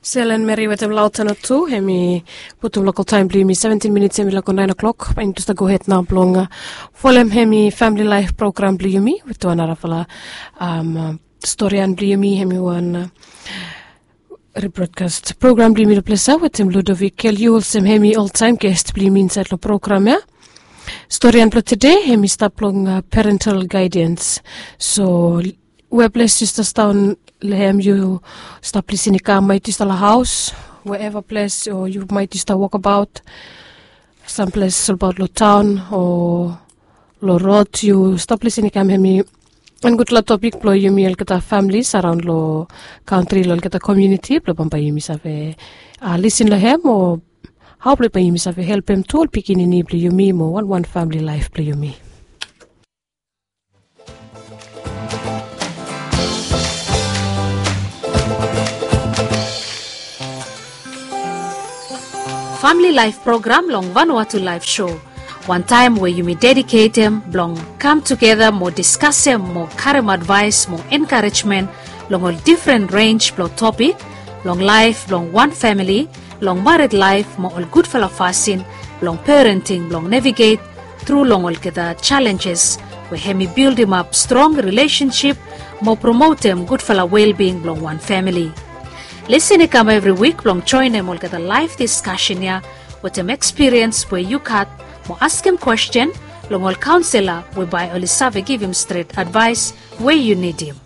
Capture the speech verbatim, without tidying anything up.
Selen Meri wetem Lautana tu, hemi putum lokal taem blong yumi seventin minits hemi lako naen o'klok. Bae yumi tu stap gohed nao blong folem hemi famili laef program blong yumi wetem wan narafala storian blong yumi, hemi wan rebrodkast program blong yumi long ples ya wetem Ludovic Keliu olsem hemi oltaem gest blong yumi insaed long program ya. Storian blong tede hemi stap long parental gaedians. So we ples yu stap daon long hem, yu stap lisin i kam, maet yu stap long haos, we eva ples o yu maet yu stap wokabaot samples olbaot long taon o long rod, yu stap lisin i kam, hemi wan gudfala topik blong yumi olgeta familis araon long kantri, long olgeta komuniti blong bambae yumi save lisin long hem o hao blong bae yumi save helpem tu ol pikinini blong yumi mo wanwan famili laef blong yumi. Famili laef program long Vanuatu Laef Sho, wantaem we yumi dediketem blong kam tugeta mo diskasem mo karem advaes mo enkarejmen long ol difren renj blong topik long laef blong wan famili, long mared laef mo ol gudfala fasin blong parenting blong neviget tru long olgeta jalenjes we hemi bildimap strong rilesensip mo promotem gudfala welbing blong wan famili. Lisin i kam evri wik blong joenem olgeta laef diskasen ya wetem ekspiriens we yu gat mo askem kwesten long ol kaonsela we bae oli save givim stret advaes we yu nidim.